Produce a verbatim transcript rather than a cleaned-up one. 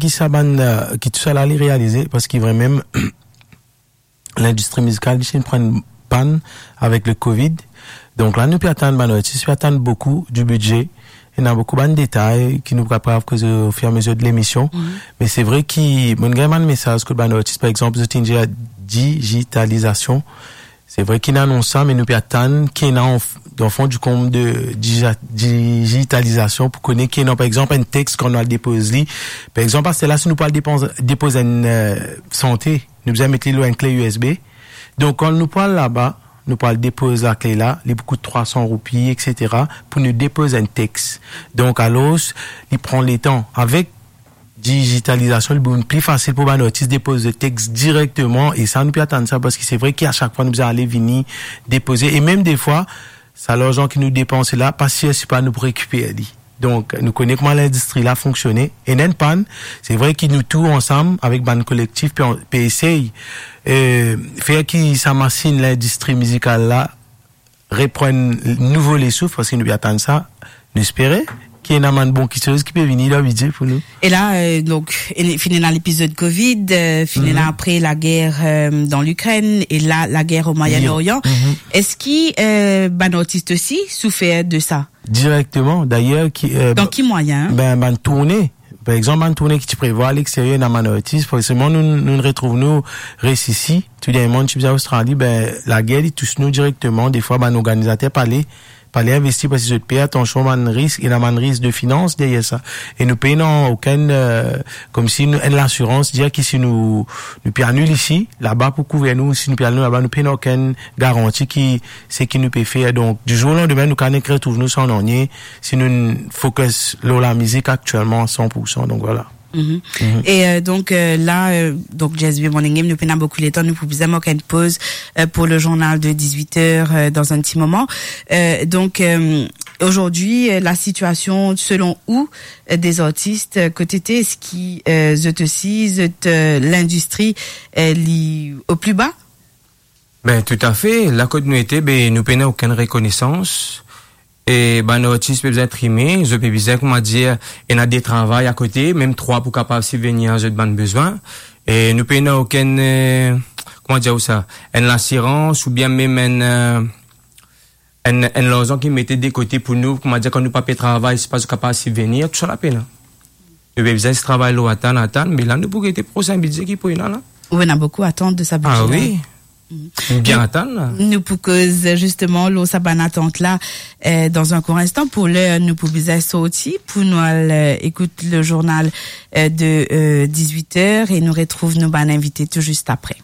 ki sa bann, eh, ki tou sa la li realize, parski vremem, lindistri mizikal, li ti pran pann avek le covid. Donk la, nou pe atann bann artis, pe atann boukou di bidze. Ena boukou bann detay ki nou pou kapav koze ofiramezir de lemision. Mhm. Me se vre ki, mo gagn bann mesaz kot bann artis, par exanp, zot inn dir digitalizasion. Se vre ki inn anons sa, me nou pe atann ki ena an f-, dan fon di konb de dija-, digitalizasion pou kone ki ena, par exanp, enn text kan nou al depoz li. Par exanp, aster la, si nou pou al depoz, depoz enn, eh, sante, nou bizin met li lor enn kle U S B. Donk, kan nou pou al laba, nou pou al depoz lakle la, li pou kout trwa san roupi, et cetera, pou nou depoz enn text. Donk, alor, li pran letan. Avek digitalizasion, li pou vinn pli fasil pou bann artis depoz de text direkteman, e sa, nou pe atann sa, parski se vre ki a sak fwa nou bizin ale vini depoze, e mem defwa, sa larzan ki nou depanse la, pa sir si pa nou pou rekiper li. Donk, nou kone kouma lindistri la fonksione. Ena enn pann, se vre ki nou tou ansam, avek bann kolektif, pe, pe esey, eh, fer ki sa masinn lindistri mizikal la reprann nouvo lesouf, parski nou pe atann sa, nou espere ki ena bann bon kiksoz ki pe vini dan bidze pou nou. E la, eh, donk, e, finn ena lepizod covid, eh, finn ena apre lager, eh, dan Likrinn, e la, lager o Moyen-Orient. Eski, eh, bann artis osi soufer de sa? Direkteman, dayer, ki, eh, Dan ki mwayin? Ben, bann tourne. Par exanp, bann tourne ki ti prevwa alexterier, ena bann artis, forseman, nou, nou retrouv nou res isi. Tou dernie mo ti bizin Australi, ben, lager, li tous nou direkteman. Defwa, bann organizater pale, pale investi, parski zot pe atansion bann risk, ena bann risk de finans deryer sa. E nou pena okenn, eh, koumsi nou, enn lasirans, dir ki si nou, nou pe anil isi, laba pou kouver nou, si nou pe anil laba, nou pena okenn garanti ki seki nou pe fer. Donk, di zour o landime, nou kapav nek retrouv nou san nanye, si nou focus lor lamizik aktielman a san pour san. Donk, vwala. Mhm. E, eh, donk, eh, la, eh, donk, J S B Morning Game, nou pena boukou letan, nou pou bizin mark enn poz, eh, pou le journal de dix-huit heures, eh, dan enn ti moman. Eh, donk, eh, aujourd'hui, eh, la situation selon ou, eh, des artistes, eh, kot ete, eski, eh, zot osi, zot, eh, lindistri, eh, li o pli ba? Ben, toutafe. La kot nou ete, ben, nou pena okenn rekonesans. E bann artis pe bizin trime, zot pe bizin, kouma dir, ena de travay akote, mem trwa pou kapav sibvenir a zot bann bezwin. E nou pena okenn, eh, kouma dir ou sa, enn lasirans oubien mem enn, eh, enn, enn larzan ki mete de kote pou nou, kouma dir, kan nou pa pe travay, si pa zot kapav sibvenir, tou sa la pena. Nou pe bizin zis travay lor atann, atann, me la nou pou gete prosin bidze ki pou ena la. Ou ena boukou atant de sa bidze la. Ah wi. Mhm. Bien atann la. Nou pou koz zisteman lor sa bann atant la, eh, dan enn kour instan. Pou ler, nou pou bizin sorti, pou nou al, eh, ekout le journal, eh, de, eh, dix-huit heures e nou retrouv nou bann invite tou zis apre.